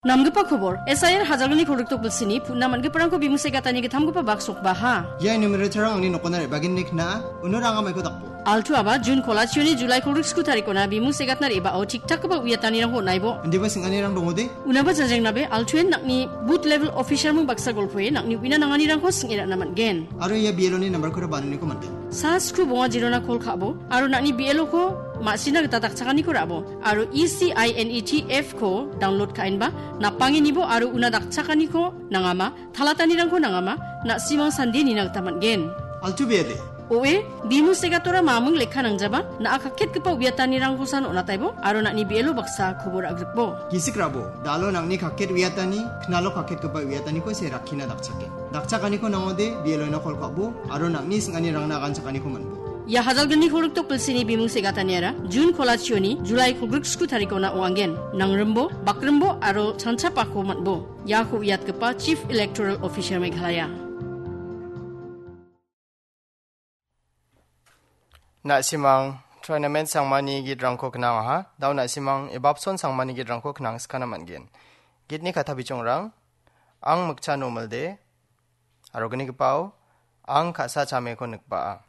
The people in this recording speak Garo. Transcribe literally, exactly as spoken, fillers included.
Namgipa kobor, S I R Hajalgni kolgrikdok bilsini, putna man·giparangko bimu se gatani gittamgipa bak sokbaha. Ia numerator-rang angni nokona re·bagenni kna·a, uno ranga maiko dakbo. Altu aba, Jun kolachioni Julai kolgrik sku tarikona bimu se gatna re·bao tiktakgipa uiatanirangko on·aibo. Indiba sing·anirang dongode? Unaba jajengnabe, Altuen nang·ni booth level officer mung baksa golpoe nang·ni uina nanganirangko sing·e ra·na man·gen. Aro ia B L O-ni nambarkora bananiko man·gen. Sa sku bonga jirona kol ka·bo, aro nang·ni B L O-ko ma·sina gita dakchakaniko ra·bo, aro E C I N E T F-ko download ka·enba, napangenibo aro una dakchakaniko nangama, talatanirangko nangama, na·simang sande nina gita man·gen. Altu B L A. O E, bimu segatora mamung lekka nangjaba, na·a kaketgipa uiatanirangkosan on·ataibo, aro nang·ni B L O baksa kobor agrikbo. Gisik rabo, dalo nang·ni kaket uiatani, knalo kaketgipa uiataniko se rakkina dakchake. Dakchakaniko nangode, B L O-na kol ka·bo, aro nang·ni sing·anirangna aganchakaniko man·bo. Ia Hajalgni kolgrikdok bilsini bimu segataniara, Jun kolachioni, Julai kolgrik sku tarikona ong·angen. Nangrimbo, bakrimbo, aro chanchapako man·bo. Iako uiatgipa Chief Electoral Officer Meghalaya. Na·simang Tournament Sangmani gitrangko knangaha, dao na·simang Ebapson Sangmani gitrangko knangskana man·gen. Gitni kata bichongrang, ang Mikcha Nomilde, aro gnigipao, ang ka·sa chameko nikbaa.